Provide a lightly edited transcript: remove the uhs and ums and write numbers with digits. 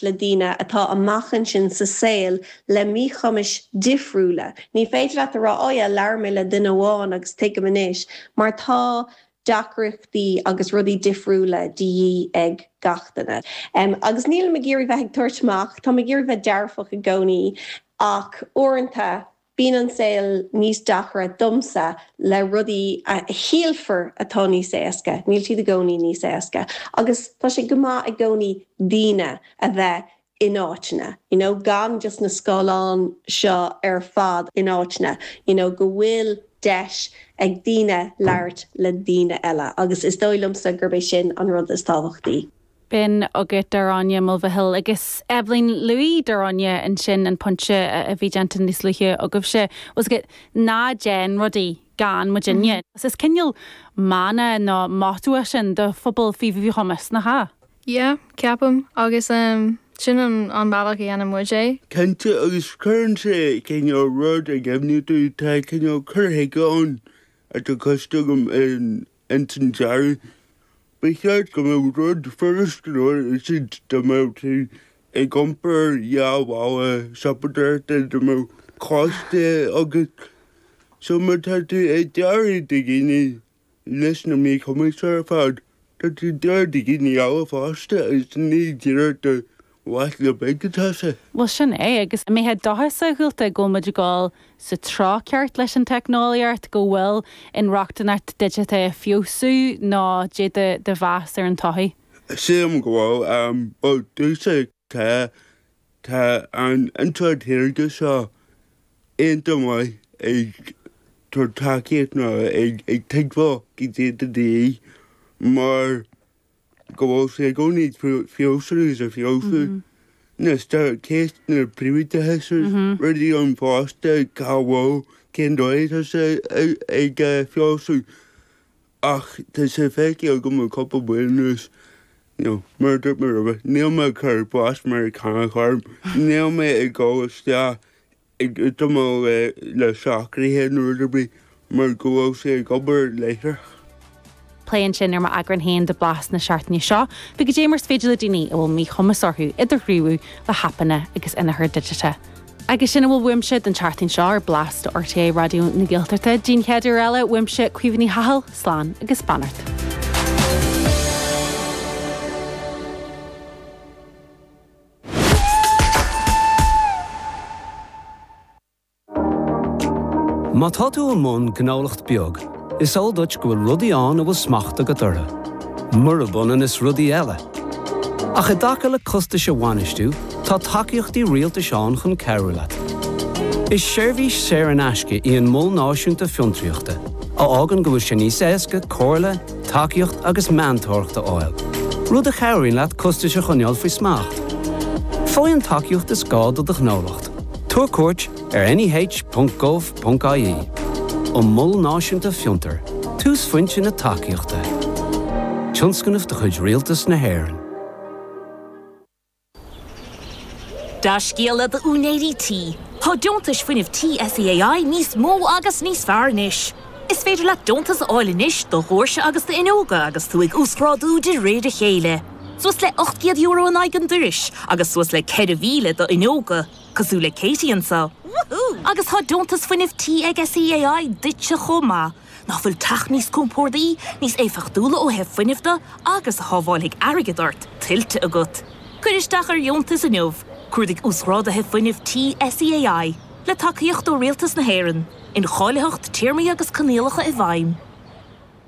le daoine atá amach ansin sa saol le míchumais difriúla. Ní féidir leat a rá, oh yeah, labhair mé le duine amháin agus tuigim anois, mar tá deacrachtaí agus rudaí difriúla de dhíth ag gach duine. Agus nílim ag iarraidh bheith ag tabhairt amach, táim ag iarraidh bheith dearfach i gcónaí ach uaireanta bíonn an saol níos deacra domsa le rudaí a shílfear atá níos éasca, níl siad i gcónaí níos éasca. Agus tá sé go maith i gcónaí daoine a bheith in áiteanna, you know, gan just na scáileáin seo ar fad in áiteanna, you know, go bhfuil deis ag daoine labhairt le daoine eile agus is dóigh liomsa gurb é sin an rud is tábhachtaí. B'in agat Gráinne Mulvihill agus Eibhlín luaigh Gráinne ansin an pointe a bhí déanta níos luaithe agaibhse, was go ná déan rudaí gan muidinne. Is cineál mana nó motto é sin do phobal faoi mhíchumas, nach ea? Yeah, ceapaim, agus sin an an bealach a dhéanann muid é. Cinnte, agus cuireann sé cineál rud i gcuimhne domh, tá cineál cur chuige ann atá cloiste agam ins an dearadh. Ba cheart go mbeadh rud furast go leor a úsáid dá mbeadh tú ag iompar dhá mhála siopadóireachta, dá mbeadh cósta agat. So má tá tú ag dearadh do dhaoine leis na míchumais ar fad. Tá tú ag dearadh do dhaoine eile fosta agus ní díreach do bhaicle beag atá sé. Bhuel, sin é, agus an mbeifeá dóchasach, a Dhualta, go bhfuil muid ag dul sa treo ceart leis an teicneolaíocht, go bhfuil inrochtaineacht digiteach ag feabhsú nó cad é do mheas ar an todhchaí? Sílim go bhfuil. Bhuel, domhsa tá, tá an intleacht shaorga seo iontach maith ag tabhairt tacaíocht nó ag tuigbheáil cad é atá de dhíth mar go bhfuil sé i gcónaí ag feabhsú agus ag feabhsú. Anois tá ceist na príobháideachais agus rudaí ann fosta cá bhfuil, cén dóigh atá sé ag feabhsú ach tá sé feicthe agam le cúpla bliain anuas, you know, mar a dúirt mé roimhe, níl mé ag cur blas Meiriceánach orm, níl mé ag dul isteach ag útamáil le socruithe nó rud ar bith mar go bhfuil sé ag obair láithreach. Plé ansin ar m'eagrán féin de Blas na seachtaine seo faoi goidé mar is féidir le daoine a bhfuil míchumas orthu idirghníomhú le haipeanna agus inneachar digiteach. Agus sin a bhfuil uaimse don tseachtain seo ar Blas do RTÉ Raidió na Gaeltachta. Dtí'n chéad uair eile, uaimse Caoimhe Ní Chathail, slán agus beannacht. Má tá tú i mbun gnólacht beag, is eol duit go bhfuil rudaí ann a bhfuil smacht agat orthu, murab ionann is rudaí eile. Ach i dtaca le costais a bhainistiú, tá tacaíochtaí rialtais ann chun cabhrú leat. Is seirbhís saor in aisce í an Mol Náisiúnta Fiontraíochta, a fhágann go bhfuil sé níos éasca comhairle, tacaíocht agus meantóireacht a fháil, rud a chabhraíonn leat costais a choinneáil faoi smacht. Faigh an tacaíocht is gá do do ghnólacht. Tabhair cuairt ar neh.gov.ie. An Mol Náisiúnta Fiontar, túsphointe na tacaíochta. Tionscnamh de chuid Rialtas na hÉireann. Dea-scéala d'úinéirí tí, tá deontais fuinnimh tí SEAI níos mó agus níos fearr anois. Is féidir leat deontas a fháil anois do dhoirse agus d'fhuinneoga agus tú ag uasghrádú de réir a chéile. Suas le €800 in aghaidh an dorais agus suas le 4,000 d'fhuinneoga, cosúil le Katie anseo. Agus tá deontas fuinnimh tí ag SEAI duitse chomh maith. Nach bhfuil teach níos compordaí, níos éifeachtúla ó thaobh fuinnimh de agus a shábhálfaidh airgead ort, tuillte agat? Cuir isteach ar dheontas inniu. Cuardaigh Uasghráduithe Fuinnimh Tí SEAI, le tacaíocht ó Rialtas na hÉireann. Incháilitheacht, téarmaí agus coinníollacha i bhfeidhm.